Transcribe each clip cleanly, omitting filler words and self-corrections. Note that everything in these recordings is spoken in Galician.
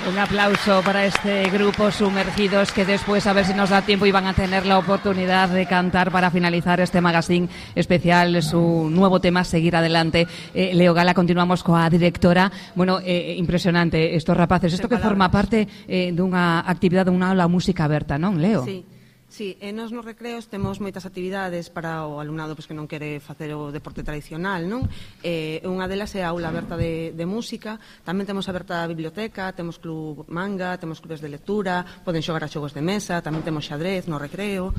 Un aplauso para este grupo Sumergidos, que después, a ver si nos da tiempo, y van a tener la oportunidad de cantar para finalizar este magazine especial su nuevo tema, Seguir Adelante. Leo Gala, continuamos coa directora. Bueno, impresionante estos rapaces. Isto que forma parte dunha actividade, dunha aula música aberta, non, Leo? Sí, nos recreos temos moitas actividades para o alumnado que non quere facer o deporte tradicional, non? Unha delas é a aula aberta de música, tamén temos aberta a biblioteca, temos club manga, temos clubes de lectura, poden xogar a xogos de mesa, tamén temos xadrez no recreo.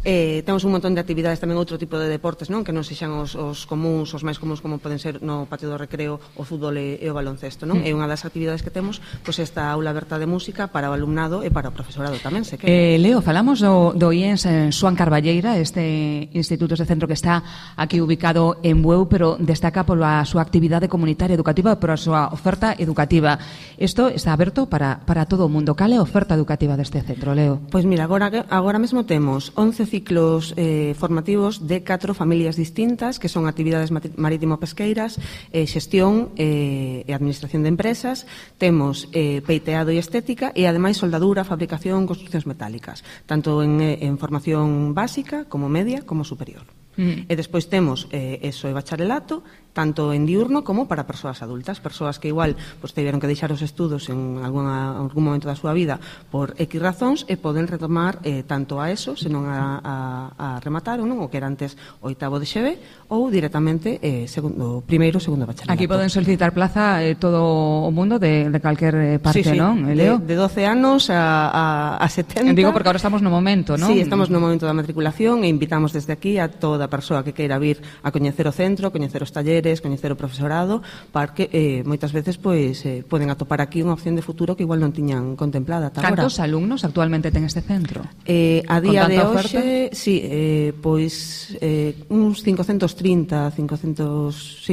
Temos un montón de actividades, tamén outro tipo de deportes, non? Que non sexan os comuns, os máis comuns, como poden ser no patio do recreo o fútbol e o baloncesto, non? É unha das actividades que temos, pois esta aula aberta de música para o alumnado e para o profesorado tamén, se quere. Leo, falamos do IENS Xoán Carballeira, este instituto, este centro que está aquí ubicado en Bueu, pero destaca pola súa actividade comunitaria educativa, por a súa oferta educativa. Isto está aberto para todo o mundo. Cal é a oferta educativa deste centro, Leo? Pois mira, agora mesmo temos 11 ciclos formativos de 4 familias distintas, que son actividades marítimo-pesqueiras, xestión e administración de empresas. Temos peiteado e estética e, ademais, soldadura, fabricación, construccións metálicas, tanto en formación básica, como media, como superior. E despois temos eso e bacharelato, tanto en diurno como para persoas adultas, persoas que igual tiveron que deixar os estudos en algún momento da súa vida por X razóns e poden retomar tanto a ESO, senón a rematar ou non, o que era antes o oitavo de XB, ou directamente primeiro, segundo bacharelato. Aquí poden solicitar plaza todo o mundo de calquer parte, non, Leo? De 12 anos a 70. Digo porque agora estamos no momento, non? Sí, estamos no momento da matriculación e invitamos desde aquí a toda persoa que queira vir a coñecer o centro, coñecer os talleres, coñecer o profesorado, para que moitas veces poden atopar aquí unha opción de futuro que igual non tiñan contemplada ata agora. Cantos alumnos actualmente ten este centro? A día de hoxe, uns 530,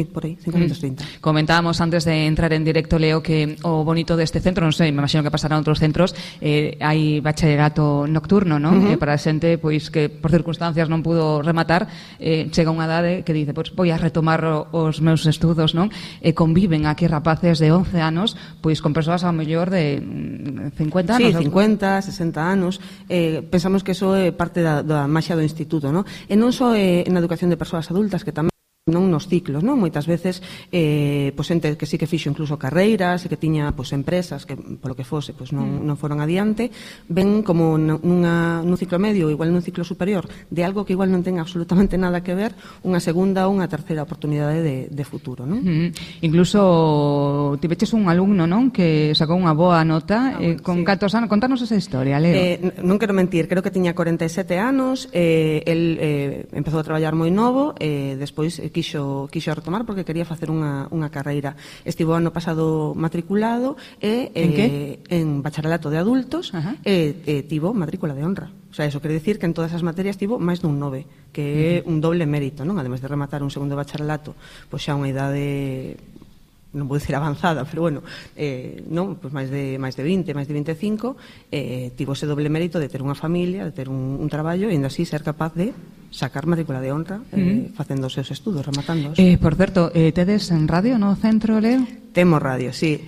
por aí, 530. Comentábamos antes de entrar en directo, Leo, que o bonito deste centro, non sei, me imagino que pasará en outros centros, hai bacharelato nocturno, non? Para a xente que por circunstancias non pudo rematar, chega unha idade que dice, vou a retomar os meus estudos, non? E conviven aquí rapaces de 11 anos con persoas ao mellor de 50 anos. Sí, 50, 60 anos. Pensamos que iso é parte da maxia do instituto, non? E non só na educación de persoas adultas, que tamén non nos ciclos, non? Moitas veces xente que sí que fixo incluso carreiras e que tiña empresas que polo que fose non foron adiante, ven como nun ciclo medio, igual nun ciclo superior, de algo que igual non ten absolutamente nada que ver, unha segunda ou unha terceira oportunidade de futuro, non? Incluso tiveches un alumno, non? Que sacou unha boa nota con 14 anos. Contanos esa historia, Leo. Non quero mentir, creo que tiña 47 anos, el empezou a traballar moi novo, despois quixo retomar porque quería facer unha carreira. Estivo ano pasado matriculado en que? En bacharelato de adultos e tivo matrícula de honra. O sea, eso quere dicir que en todas as materias tivo máis dun 9, que é un doble mérito, non? Ademais de rematar un segundo bacharelato, xa unha idade, non vou dicir avanzada, pero bueno, máis de 20, máis de 25, tivo ese doble mérito de ter unha familia, de ter un traballo e ainda así ser capaz de sacar matrícula de honra facendo os seus estudos, rematándoos. Por certo, tedes en radio no centro, Leo? Temos radio, sí.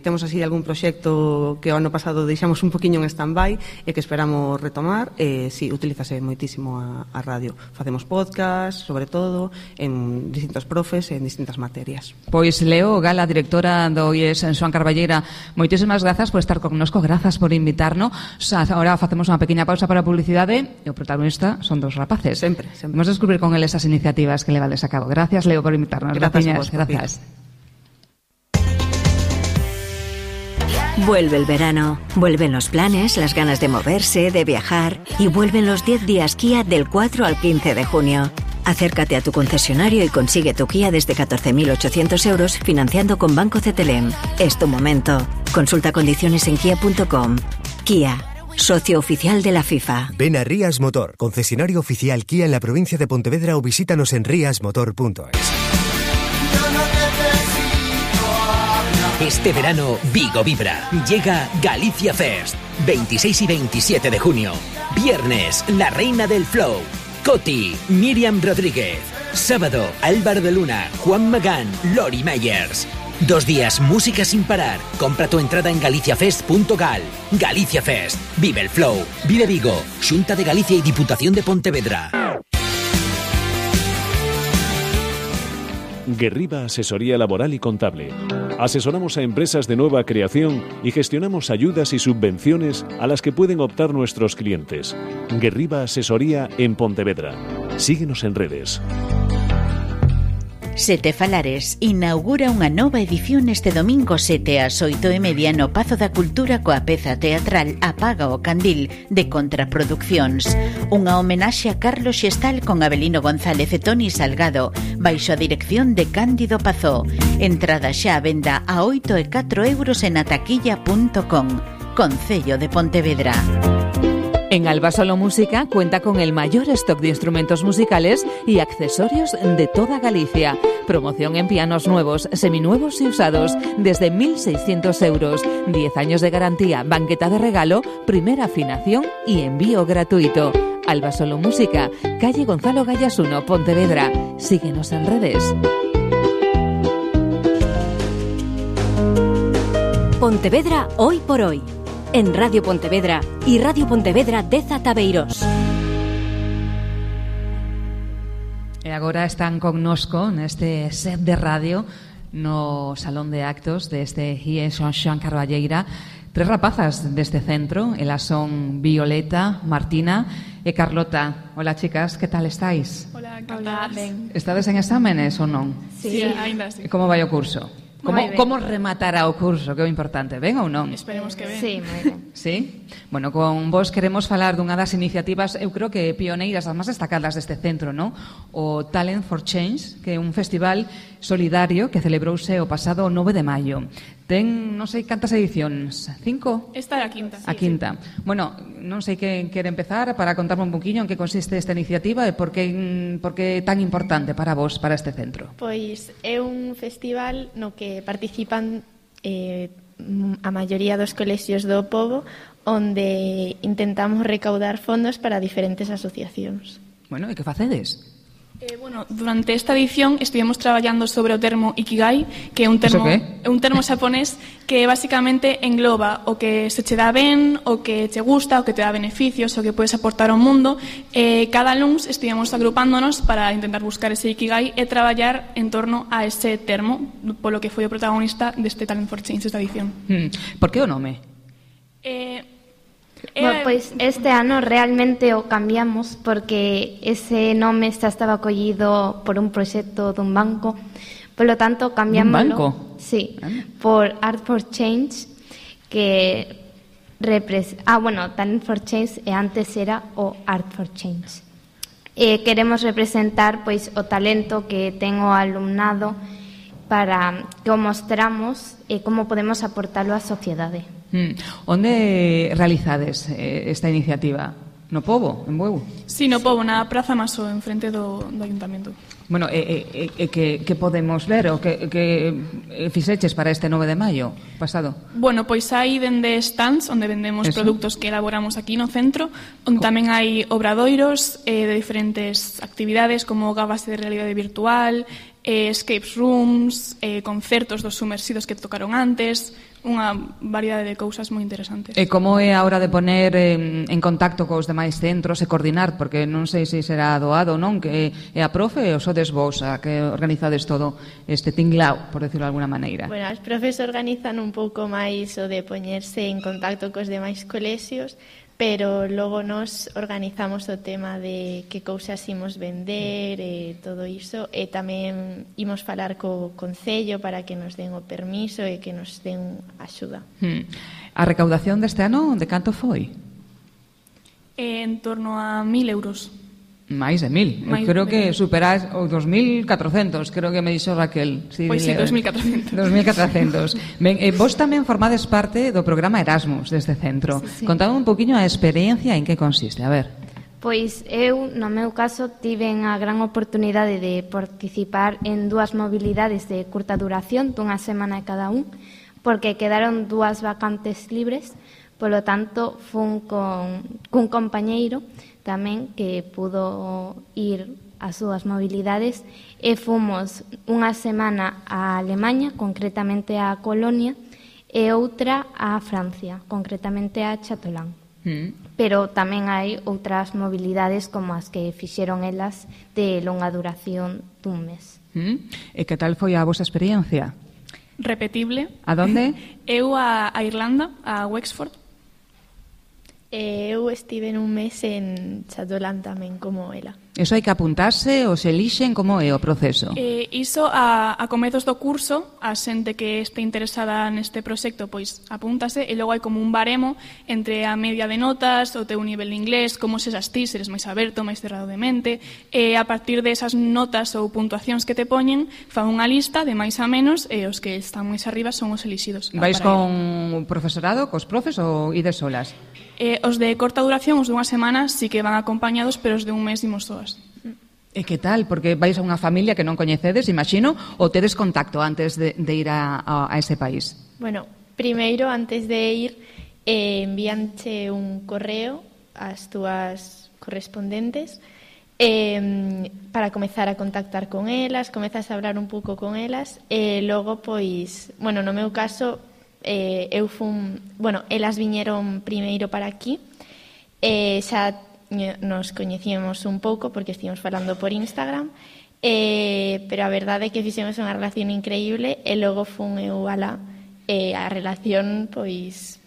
Temos así algún proxecto que o ano pasado deixamos un poquinho en stand-by e que esperamos retomar. Sí, utilízase moitísimo a radio. Facemos podcast, sobre todo, en distintos profes e en distintas materias. Pois Leo Gala, directora do IES Xoán Carballeira, moitísimas grazas por estar connosco, grazas por invitarnos. Ahora facemos unha pequena pausa para a publicidade e o protagonista son dos rapaces. Sempre. Vamos a descubrir con él esas iniciativas que levades a cabo. Gracias, Leo, por invitarnos. Gracias. Vuelve el verano, vuelven los planes, las ganas de moverse, de viajar y vuelven los 10 días Kia del 4 al 15 de junio. Acércate a tu concesionario y consigue tu Kia desde 14.800 euros financiando con Banco CTLM. Es tu momento. Consulta condiciones en kia.com. Kia, socio oficial de la FIFA. Ven a Rías Motor, concesionario oficial Kia en la provincia de Pontevedra, o visítanos en riasmotor.es. Este verano, Vigo vibra. Llega Galicia Fest. 26 y 27 de junio. Viernes, la reina del flow. Coti, Miriam Rodríguez. Sábado, Álvaro de Luna, Juan Magán, Lori Meyers. 2 días música sin parar. Compra tu entrada en galiciafest.gal. Galicia Fest. Vive el flow. Vive Vigo. Xunta de Galicia y Diputación de Pontevedra. Guerriba Asesoría Laboral y Contable. Asesoramos a empresas de nueva creación y gestionamos ayudas y subvenciones a las que pueden optar nuestros clientes. Guerriba Asesoría en Pontevedra. Síguenos en redes. Sete Falares inaugura unha nova edición este domingo 7 ás 8:30 no Pazo da Cultura coa peza teatral Apaga o Candil de Contraproduccións. Unha homenaxe a Carlos Xestal con Abelino González e Toni Salgado baixo a dirección de Cándido Pazó. Entrada xa a venda a 8 e 4 euros en ataquilla.com. Concello de Pontevedra. En Alba Solo Música cuenta con el mayor stock de instrumentos musicales y accesorios de toda Galicia. Promoción en pianos nuevos, seminuevos y usados desde 1.600 euros. 10 años de garantía, banqueta de regalo, primera afinación y envío gratuito. Alba Solo Música, calle Gonzalo Gallas 1, Pontevedra. Síguenos en redes. Pontevedra hoy por hoy. En Radio Pontevedra y Radio Pontevedra de Zataveiros. E agora están connosco neste set de radio no Salón de Actos deste IE Xoan Carballeira 3 rapazas deste centro. Elas son Violeta, Martina e Carlota. Hola, chicas, que tal estáis? Hola, Carla. Estades en exámenes ou non? Sí, ainda sí. E como vai o curso? Como rematará o curso? Que é o importante, ben ou non? Esperemos que ben. Sí, moi ben. Sí? Bueno, con vos queremos falar dunha das iniciativas, eu creo que pioneiras, as máis destacadas deste centro, non? O Talent for Change, que é un festival solidario que celebrouse o pasado 9 de maio. Ten, non sei cantas edicións, 5? Esta é a quinta. A quinta. Bueno, non sei quen quere empezar para contarme un poquinho en que consiste esta iniciativa e por que é tan importante para vos, para este centro. Pois é un festival no que participan a maioría dos colexios do pobo, onde intentamos recaudar fondos para diferentes asociacións. Bueno, e que facedes? Durante esta edición estivemos traballando sobre o termo Ikigai, que é un termo xaponés que basicamente engloba o que se che dá ben, o que che gusta, o que te dá beneficios, o que podes aportar ao mundo. Cada luns estivemos agrupándonos para intentar buscar ese Ikigai e traballar en torno a ese termo, polo que foi o protagonista deste Talent for Change esta edición. Por que o nome? Bueno, pois este ano realmente o cambiamos porque ese nome xa estaba collido por un proxecto dun banco, polo tanto cambiámoslo. Un banco? Sí, por Art for Change, que Talent for Change e antes era o Art for Change. Queremos representar pois o talento que ten o alumnado para que o mostramos e como podemos aportalo á sociedade. Onde realizades esta iniciativa? No Pobo, en Bueu? Sí, no Pobo, na Praza Maso, en frente do Ayuntamento. Bueno, que podemos ver o que fixeches para este 9 de maio pasado? Bueno, pois hai dende stands onde vendemos produtos que elaboramos aquí no centro, onde tamén hai obradoiros de diferentes actividades como gafas de realidade virtual, escape rooms, concertos dos sumersidos que tocaron antes, unha variedade de cousas moi interesantes. E como é a hora de poner en contacto cos demais centros e coordinar, porque non sei se será doado ou non, que é a profe ou sodes vos a que organizades todo este tinglao, por decirlo de alguna maneira? Bueno, as profes organizan un pouco máis o de poñerse en contacto cos demais colexios, pero logo nos organizamos o tema de que cousas imos vender e todo iso, e tamén imos falar co Concello para que nos den o permiso e que nos den axuda. A recaudación deste ano de canto foi? En torno a 1.000 euros. Máis de 1.000. Creo que superás os 2.400, creo que me dixo Raquel. Pois sí, 2.400. 2.400. Ben, vos tamén formades parte do programa Erasmus deste centro. Sí. Contade un poquinho a experiencia en que consiste, a ver. Pois eu, no meu caso, tiven a gran oportunidade de participar en 2 mobilidades de curta duración, dunha semana cada un, porque quedaron 2 vacantes libres, polo tanto, fun cun compañeiro tamén que pudo ir as súas mobilidades e fomos unha semana a Alemanha, concretamente a Colonia, e outra a Francia, concretamente a Chatelain. Pero tamén hai outras mobilidades como as que fixeron elas de longa duración dun mes. E que tal foi a vosa experiencia? Repetible. A donde? Eu a Irlanda, a Wexford. Eu estive un mes en Chatelain tamén, como ela. Eso hai que apuntarse ou se elixen, como é o proceso? Iso a comezos do curso, a xente que este interesada neste proxecto, pois apúntase, e logo hai como un baremo entre a media de notas, o teu nivel de inglés, como se xas ti, se eres máis aberto, máis cerrado de mente, e a partir de esas notas ou puntuacións que te poñen, fan unha lista de máis a menos, e os que están máis arriba son os elixidos. Vais con profesorado, cos profes, ou ides solas? Os de corta duración, os de unha semana, sí que van acompañados, pero os de un mes imos todas. E que tal? Porque vais a unha familia que non coñecedes, imagino, ou tedes contacto antes de ir a ese país? Bueno, primeiro, antes de ir, envíanche un correo ás túas correspondentes para comezar a contactar con elas, comezas a hablar un pouco con elas, e logo, pois, bueno, no meu caso, eu fun, bueno, elas viñeron primeiro para aquí, xa nos coñecíamos un pouco porque estivemos falando por Instagram, pero a verdade é que fixemos unha relación increíble e logo fun eu alá e a relación pois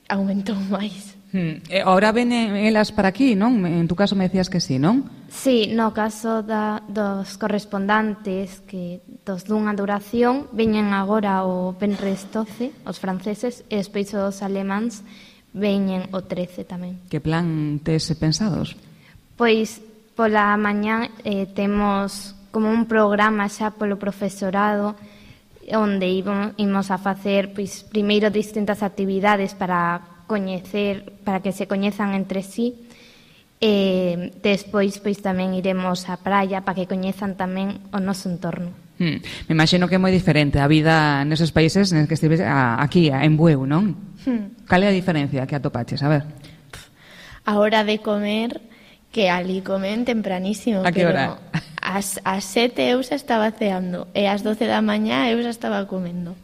aumentou máis. E agora ven elas para aquí, non? En tu caso me decías que sí, non? Sí, no caso dos correspondantes que dos dunha duración veñen agora o Benres 12, os franceses, e despois os alemáns veñen o 13 tamén. Que plan tes pensados? Pois pola mañá temos como un programa xa polo profesorado onde imos a facer pois primeiro distintas actividades para coñecer, para que se coñezan entre sí, e despois pois tamén iremos á praia para que coñezan tamén o noso entorno. Me imagino que é moi diferente a vida neses países nes que estives aquí, en Bueu, non? Cal é a diferencia que atopaches? A ver. A hora de comer, que ali comen tempranísimo. A que hora? Ás 7 eu xa estaba ceando e ás 12 da mañá eu xa estaba comendo.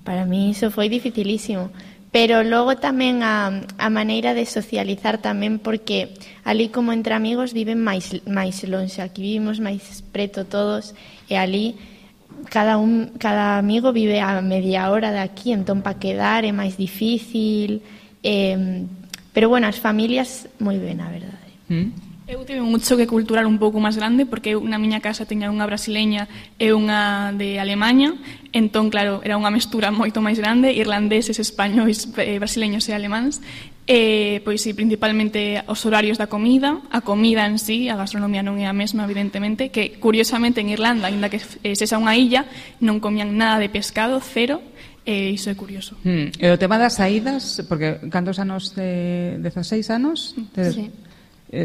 Para mí iso foi dificilísimo. Pero logo tamén a maneira de socializar tamén, porque ali como entre amigos viven máis lonxe, aquí vivimos máis preto todos, e ali cada amigo vive a media hora de aquí, entón para quedar é máis difícil, pero bueno, as familias moi ben, a verdade. Eu tive un choque cultural un pouco máis grande porque eu na miña casa teña unha brasileña e unha de Alemanha, entón claro, era unha mestura moito máis grande, irlandeses, españois, brasileños e alemáns, e pois sí, principalmente os horarios da comida, a comida en sí, a gastronomía non é a mesma evidentemente, que curiosamente en Irlanda, aínda que sexa unha illa, non comían nada de pescado, cero. E iso é curioso. E o tema das saídas, porque cantos anos, 16 anos? Sí.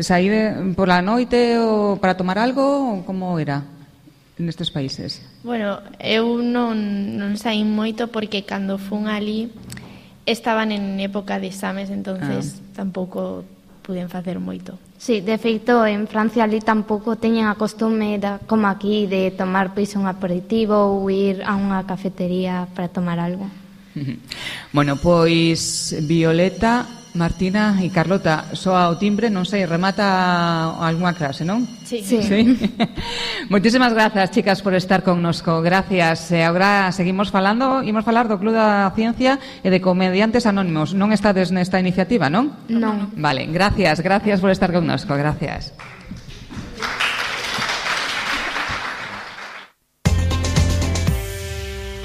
Saíde por la noite ou para tomar algo, ou como era nestes países? Bueno, eu non saín moito porque cando fun ali estaban en época de exames, entonces tampouco puden facer moito. Sí, de feito, en Francia ali tampouco teñen a costume como aquí de tomar pois un aperitivo ou ir a unha cafetería para tomar algo. Bueno, pois Violeta, Martina e Carlota, soa o timbre, non sei, remata algunha clase, non? Sí. Moitísimas grazas, chicas, por estar connosco. Gracias. E agora seguimos falando, imos falar do Club da Ciencia e de Comediantes Anónimos. Non estades nesta iniciativa, non? Non. Vale, gracias por estar connosco. Gracias.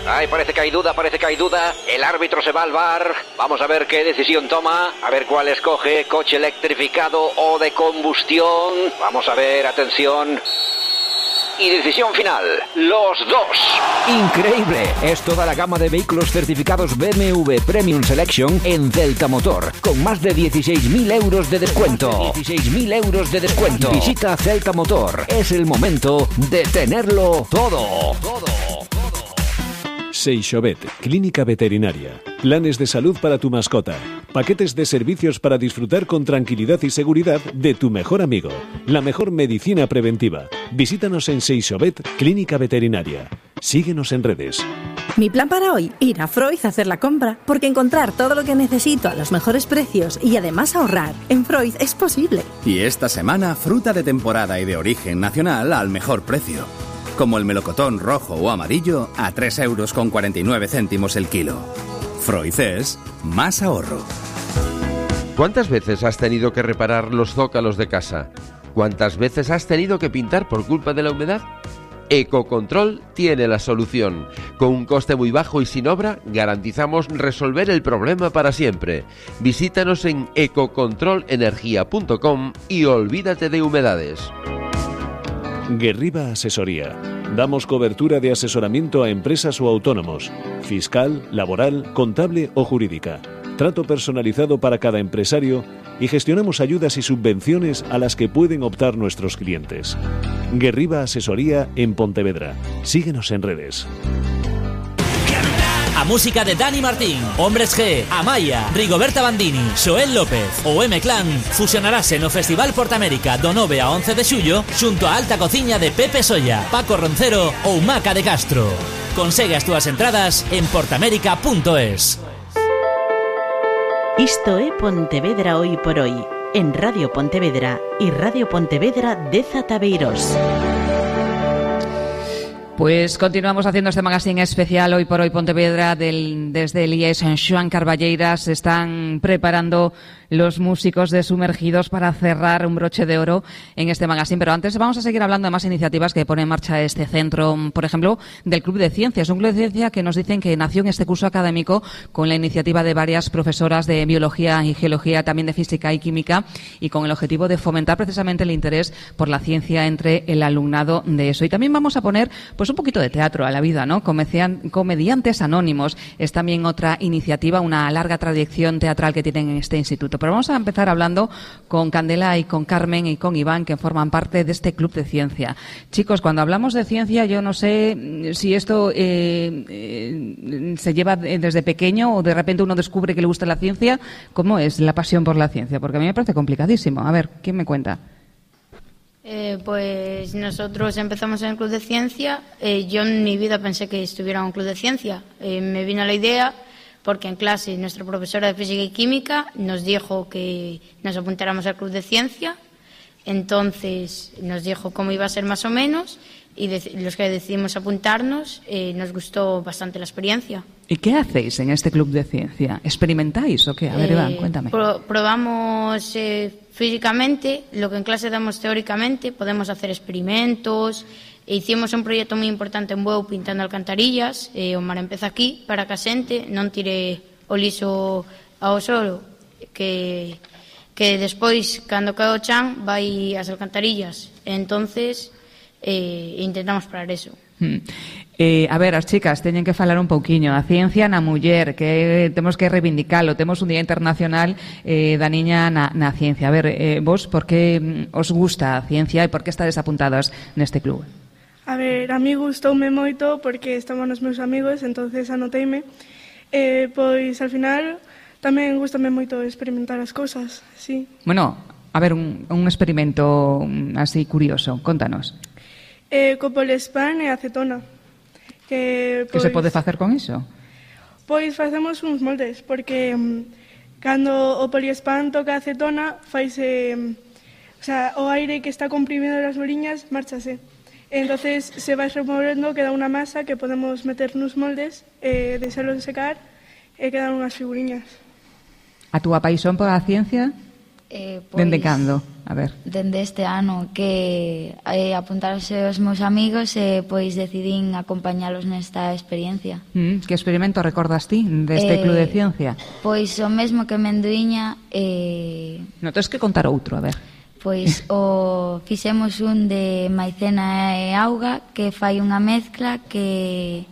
Ay, parece que hay duda. El árbitro se va al bar. Vamos a ver qué decisión toma. A ver cuál escoge. Coche electrificado o de combustión. Vamos a ver, atención. Y decisión final, los dos. Increíble, es toda la gama de vehículos certificados BMW Premium Selection en Celta Motor, con más de 16.000 euros de descuento. Visita Celta Motor, es el momento de tenerlo todo. Seixovet, clínica veterinaria. Planes de salud para tu mascota. Paquetes de servicios para disfrutar con tranquilidad y seguridad de tu mejor amigo. La mejor medicina preventiva. Visítanos en Seixobet, Clínica Veterinaria. Síguenos en redes. Mi plan para hoy, ir a Freud a hacer la compra, porque encontrar todo lo que necesito a los mejores precios y además ahorrar en Freud es posible. Y esta semana, fruta de temporada y de origen nacional al mejor precio. Como el melocotón rojo o amarillo a 3,49 € el kilo. Freud es más ahorro. ¿Cuántas veces has tenido que reparar los zócalos de casa? ¿Cuántas veces has tenido que pintar por culpa de la humedad? Ecocontrol tiene la solución. Con un coste muy bajo y sin obra, garantizamos resolver el problema para siempre. Visítanos en ecocontrolenergia.com y olvídate de humedades. Guerriba Asesoría. Damos cobertura de asesoramiento a empresas o autónomos, fiscal, laboral, contable o jurídica. Trato personalizado para cada empresario y gestionamos ayudas y subvenciones a las que pueden optar nuestros clientes. Guerriba Asesoría en Pontevedra. Síguenos en redes. A música de Dani Martín, Hombres G, Amaya, Rigoberta Bandini, Xoel López ou M-Clan fusionarase no Festival Portamérica do 9 a 11 de xullo xunto a Alta Cociña de Pepe Solla, Paco Roncero ou Maca de Castro. Consegue as túas entradas en portamérica.es. Isto é Pontevedra Hoy por Hoy, en Radio Pontevedra e Radio Pontevedra de Zataveiros. Pues continuamos haciendo este magazine especial Hoy por Hoy Pontevedra desde el IES en Xoán Carballeiras. Se están preparando los músicos de Sumergidos para cerrar un broche de oro en este magazine. Pero antes vamos a seguir hablando de más iniciativas que pone en marcha este centro. Por ejemplo, del Club de Ciencias. Un club de ciencia que nos dicen que nació en este curso académico con la iniciativa de varias profesoras de biología y geología, también de física y química, y con el objetivo de fomentar precisamente el interés por la ciencia entre el alumnado de eso. Y también vamos a poner pues un poquito de teatro a la vida, ¿no? Comediantes Anónimos es también otra iniciativa, una larga tradición teatral que tienen en este instituto. Pero vamos a empezar hablando con Candela y con Carmen y con Iván, que forman parte de este Club de Ciencia. Chicos, cuando hablamos de ciencia, yo no sé si esto se lleva desde pequeño o de repente uno descubre que le gusta la ciencia. ¿Cómo es la pasión por la ciencia? Porque a mí me parece complicadísimo. A ver, ¿quién me cuenta? Pues nosotros empezamos en el Club de Ciencia. Yo en mi vida pensé que estuviera en un Club de Ciencia. Me vino la idea porque en clase nuestra profesora de Física y Química nos dijo que nos apuntáramos al Club de Ciencia. Entonces nos dijo cómo iba a ser más o menos y los que decidimos apuntarnos nos gustó bastante la experiencia. ¿Y qué hacéis en este Club de Ciencia? ¿Experimentáis o qué? A ver, Iván, cuéntame. Probamos físicamente lo que en clase damos teóricamente. Podemos hacer experimentos. Hicimos un proxecto moi importante en Bueu pintando alcantarillas. O mar empeza aquí para que a xente non tire o lixo ao solo, que despois, cando cae o chan, vai ás alcantarillas. Entonces intentamos parar eso. A ver, as chicas teñen que falar un pouquiño a ciencia na muller, que temos que reivindicalo. Temos un Día Internacional da Niña na Ciencia. A ver, vos, por que os gusta a ciencia e por que estades apuntadas neste club? A ver, a mí gustoume moito porque estaban os meus amigos, entonces anoteime. Pois, al final, tamén gustame moito experimentar as cousas, sí. Bueno, a ver, un experimento así curioso, contanos. Co poliespan e acetona. Que se pode facer con iso? Pois facemos uns moldes, porque cando o poliespan toca a acetona, faise, o aire que está comprimido nas boliñas, márchase. Entonces se vai removendo, queda unha masa que podemos meter nos moldes, deixalo secar e quedan unhas figuriñas. A túa paixón por a ciencia? Dende cando? A ver. Dende este ano que apuntarse os meus amigos e pois decidín acompañalos nesta experiencia. Que experimento recordas ti deste Club de Ciencia? Pois o mesmo que Menduíña. Non tens que contar outro, a ver. Pois fixemos un de maicena e auga que fai unha mezcla que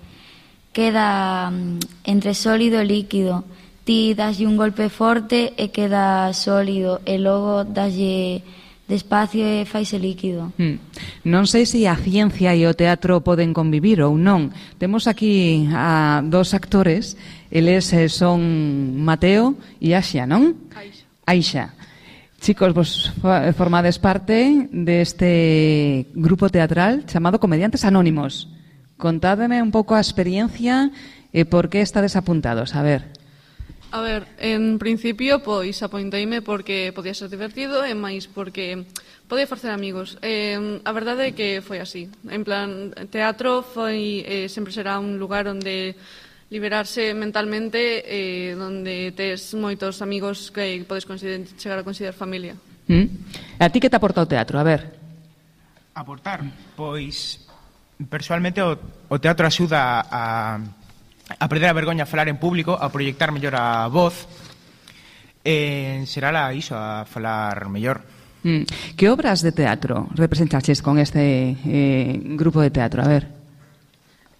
queda entre sólido e líquido. Ti daslle un golpe forte e queda sólido e logo daslle despacio e faise líquido. Non sei se a ciencia e o teatro poden convivir ou non. Temos aquí a dos actores, eles son Mateo e Aixa, non? Aixa. Chicos, vos formades parte deste grupo teatral chamado Comediantes Anónimos. Contádeme un pouco a experiencia e por que estades apuntados. A ver, en principio, pois, apointeime porque podía ser divertido e máis porque podía facer amigos. A verdade é que foi así. En plan, teatro foi sempre será un lugar onde liberarse mentalmente, donde tes moitos amigos que podes chegar a considerar familia. A ti que te aporta o teatro? A ver. Aportar? Pois, persoalmente, o teatro axuda a perder a vergoña a falar en público, a proyectar mellor a voz, será iso, a falar mellor. Que obras de teatro representaches con este grupo de teatro? A ver.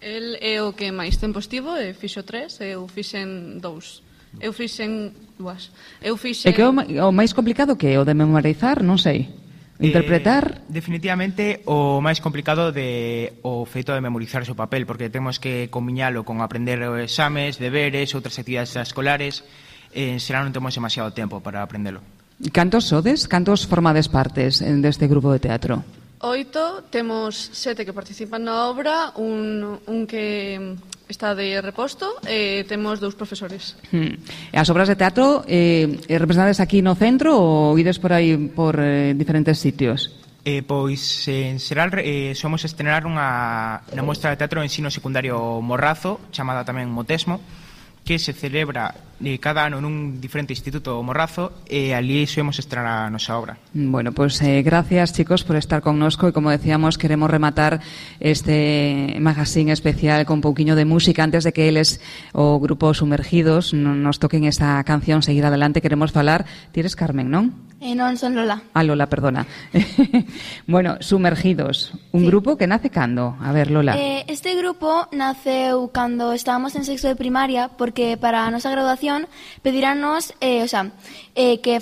El é o que máis tempo estivo, fixo 3, eu fixen 2. Eu fixen 2. É que o máis complicado que é o de memorizar, non sei. Interpretar? Definitivamente o máis complicado o feito de memorizar o seu papel, porque temos que combiñalo con aprender exames, deberes, outras actividades escolares, será non temos demasiado tempo para aprendelo. Cantos sodes? Cantos formades partes deste grupo de teatro? 8, temos 7 que participan na obra, un que está de reposto, e temos 2 profesores. As obras de teatro representades aquí no centro ou ides por aí por diferentes sitios? Pois, en xeral, somos estrenar unha mostra de teatro en ensino secundario Morrazo, chamada tamén Motesmo, que se celebra cada ano nun diferente instituto Morrazo e ali somos estrenar a nosa obra. Bueno, pues gracias, chicos, por estar connosco e, como decíamos, queremos rematar este magazine especial con un pouquiño de música antes de que eles, o grupo Sumergidos, nos toquen esta canción, seguir adelante. Queremos falar, ti eres Carmen, non? Non, son Lola. Lola, perdona. Bueno, Sumergidos, un grupo que nace cando? A ver, Lola. Este grupo naceu cando estábamos en sexto de primaria, porque para a nosa graduación pedirános que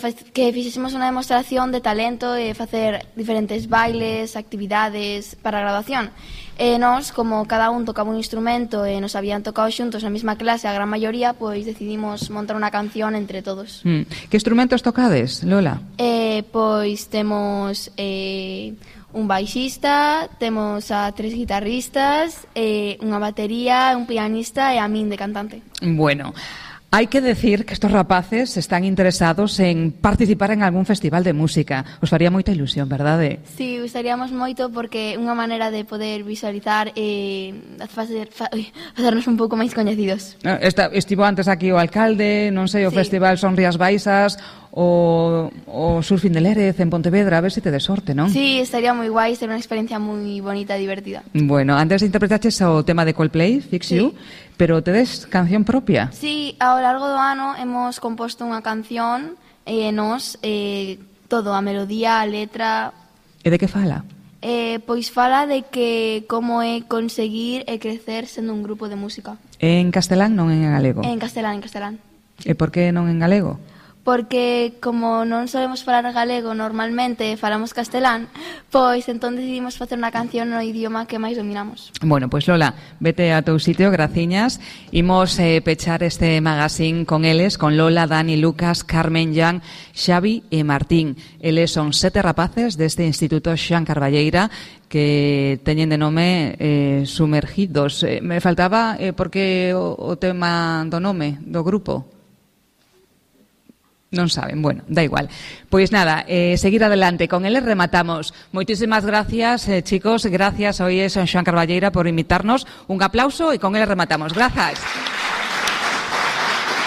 fixésemos unha demostración de talento e facer diferentes bailes, actividades para a graduación. Nós, como cada un tocaba un instrumento e nos habían tocado xuntos na mesma clase, a gran maioría, pois decidimos montar unha canción entre todos. Que instrumentos tocades, Lola? Pois temos un baixista, temos a 3 guitarristas, unha batería, un pianista e a min de cantante. Bueno, hay que decir que estos rapaces están interesados en participar en algún festival de música. Os faría moita ilusión, verdade? Sí, gustaríamos moito porque unha maneira de poder visualizar e facernos un pouco máis coñecidos. Estivo antes aquí o alcalde, non sei, o festival Son Rías Baixas, o Surfing de Lérez en Pontevedra, a ver se te de sorte, non? Sí, estaría moi guai, ser unha experiencia moi bonita e divertida. Bueno, antes interpretaches o tema de Coldplay, Fix You, pero tedes canción propia? Sí, ao largo do ano hemos composto unha canción e nos todo, a melodía, a letra. E de que fala? Pois fala de que como é conseguir e crecer sendo un grupo de música. En castelán, non en galego? En castelán, en castelán. E por que non en galego? Porque como non sabemos falar galego normalmente, falamos castelán, pois entón decidimos facer unha canción no idioma que máis dominamos. Bueno, pois Lola, vete a teu sitio, graciñas. Imos pechar este magazine con eles, con Lola, Dani, Lucas, Carmen, Jan, Xavi e Martín. Eles son 7 rapaces deste Instituto Xoan Carballeira que teñen de nome Sumergidos. Me faltaba porque o tema do nome do grupo. Non saben, bueno, da igual. Pois nada, seguir adelante. Con eles rematamos. Moitísimas gracias, chicos. Gracias, hoy es Xoan Carballeira por invitarnos. Un aplauso e con eles rematamos. Grazas.